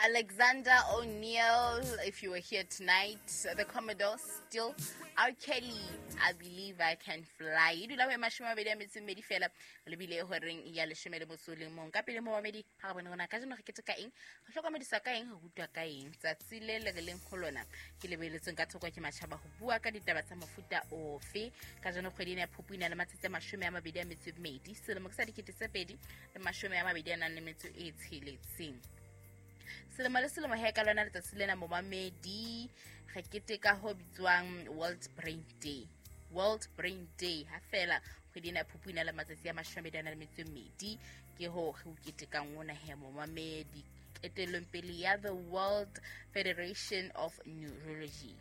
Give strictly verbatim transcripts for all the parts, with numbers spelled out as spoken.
Alexander O'Neal, if you were here tonight, the Commodore still. R. Kelly, I Believe I Can Fly. E dula ho e mashome a mabedi a metso e mmedi fela, re lebile horeng ya leshome le motso o le mong. Ka pele momamedi, ha re bone hore na kajeno re keteka eng, re hlokomedisa ka eng, re rutwa ka eng. Tsatsi le le re leng ho lona ke le beletsweng ka thoko ke matjhaba ho bua ka ditaba tsa mofuta ofe. Kajeno kgwedi ena ya Phupu e na le matsatsi a mashome a mabedi a metso e mmedi, selemo ke sa dikete tse pedi le mashome a mabedi a nang le metso e tsheletseng. Selemo le selemo he ka lona letsatsi lena momamedi re keteka ho bitswang World Brain Day. World Brain Day ha fela kgwedi ena ya Phupu e na le matsatsi a mashome a mabedi a nang le metso e mmedi, ke ho re o ketekang ona he momamedi. Ketellong pele ya the World Federation of Neurology.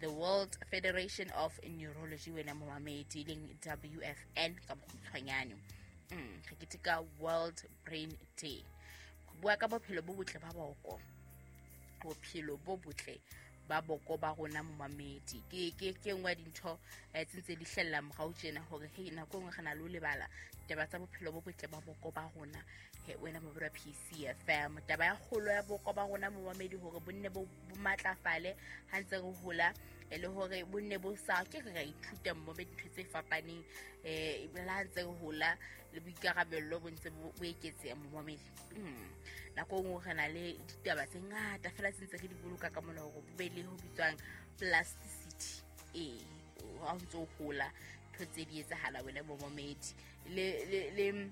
The World Federation of Neurology wena momamedi leng W F N ka bokgutshwanyane. Mm, re keteka World Brain Day. Bua ka bophelo bo botle ba boko. Bophelo bo botle ba boko ba rona momamedi. Ke ke ke nngwe ya dintho eh, tse ntse di hlella morao tjena hore hei nako e nngwe re na le ho lebala taba tsa bophelo bo botle ba boko ba rona. He wena momamedi wa P C F M, taba ya kgolo ya boko ba rona momamedi hore bo nne bo bo matlafale ha ntse re hola, e le hore bo nne bo sa ke re ra ithuta momamedi dintho tse fapaneng, eh le ha ntse re hola le boikarabello bo ntse bo eketseha momamedi. Mm. Nako e nngwe re na le ditaba tse ngata fela tse ntse re di boloka ka mona hore bo be le ho bitswang plasticity. Eh, ha o ntse o hola ntho tse di etsahala wena momamedi. Le le le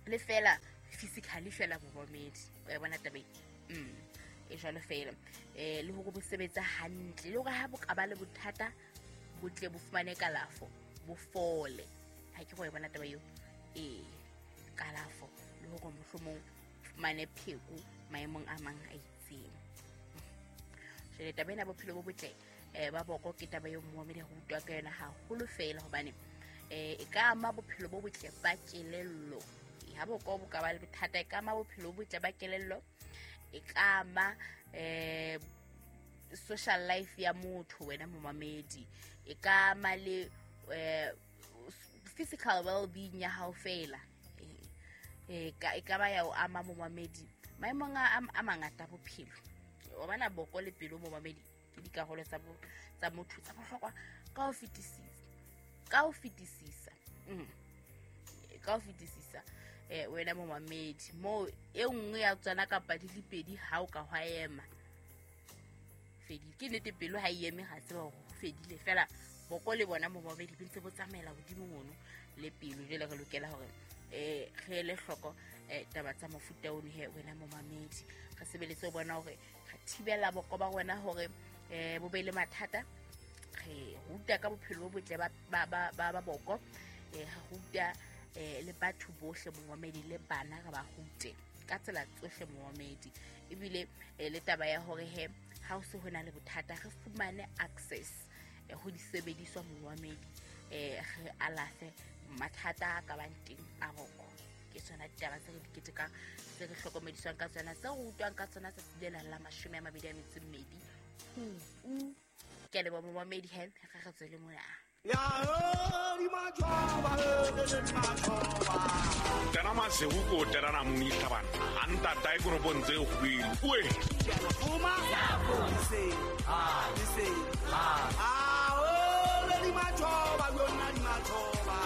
le fela physically fela momamedi. O ya bona taba e? Mm. E jwalo fela. Eh le hore bo sebetsa hantle, le hore ha bo ka ba le bothata bo tle bo fumane kalafo, bo fole. Ha ke go e bona taba eo. Eh kalafo le hore mohlomong fumane pheko maemong a mang a itseng. Jwale taba ena bophelo bo botle eh ba boko ke taba eo momamedi re utlwa ka yona haholo fela hobane eh e ka ama bophelo bo botle ba kelello. Ha boko bo ka ba le bothata e ka ama bophelo bo botle ba kelello, e ka ama eh social life ya motho wena momamedi, e ka ama le eh physical well-being ya hao fela. Eh ka e ka ba ya o ama momamedi maemong a a mangata bophelo. O bona boko le pelo momamedi ke dikarolo tsa bo tsa motho tsa bohlokwa ka ho fetisisa. Ka ho fetisisa. Mm. Ka ho fetisisa eh wena momamedi mo e nngwe ya tsona kapa di le pedi ha o ka hwa ema fedile. Ke nnete pelo ha e eme ga tseba hore ho fedile fela boko le bona momamedi bo ntse bo tsamaela hodimo mono le pelo. Jwale re lokela hore eh re ele hloko eh taba tsa mofuta ono he wena momamedi. Re sebeletse ho bona hore re thibela boko ba rona hore eh bo be le mathata. Re ruta ka bophelo bo botle ba ba ba ba boko, eh re ruta eh le batho bohle momamedi le bana re ba rute ka tsela tsohle momamedi. Ebile le taba ya hore he ha o se hona le bothata re fumane access ho disebediswa momamedi, eh re alafe mathata a ka bang teng a boko. Ke tsona ditaba tse re di ketekang, tse re hlokomediswang ka tsona, tse re rutwang ka tsona tsatsi lena la mashome a mabedi a metso e mmedi Phupu. Ke a leboha momamedi he, re re tswele mona. Tena masihu ko tena na munisa bana. Anta tai ko robontse hwile. Uwe. Uma. Se. Ah, se. Ah, oh, le di machoba, yona di machoba.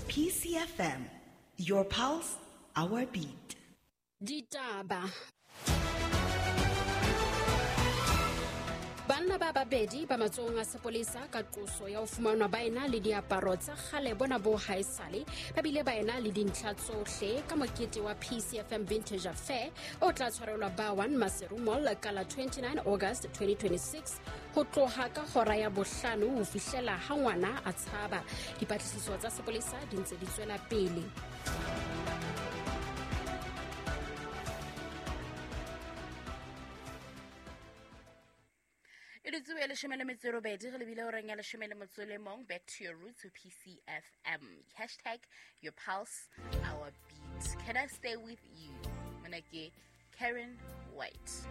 P C F M, your pulse, our beat. Ditaba. Banna ba babedi ba matsohong a sepolesa ka qoso ya ho fumanwa ba ena le diaparo tsa kgale bona bo haesale, ba bile ba ena le dintlha tsohle ka mokete wa P C F M Vintage Affair o tla tshwarelwa ba one Maseru Mall ka la twenty-nine August twenty twenty-six ho tloha ka hora ya bohlano ho fihlela ha ngwana a tshaba. Dipatlisiso tsa sepolesa di ntse di tswela pele. E leshome le metso e robedi re lebile horeng ya leshome le motso le mong. Back to your roots with P C F M. Hashtag your pulse, our beat. Can I stay with you? Mona ke Karen White.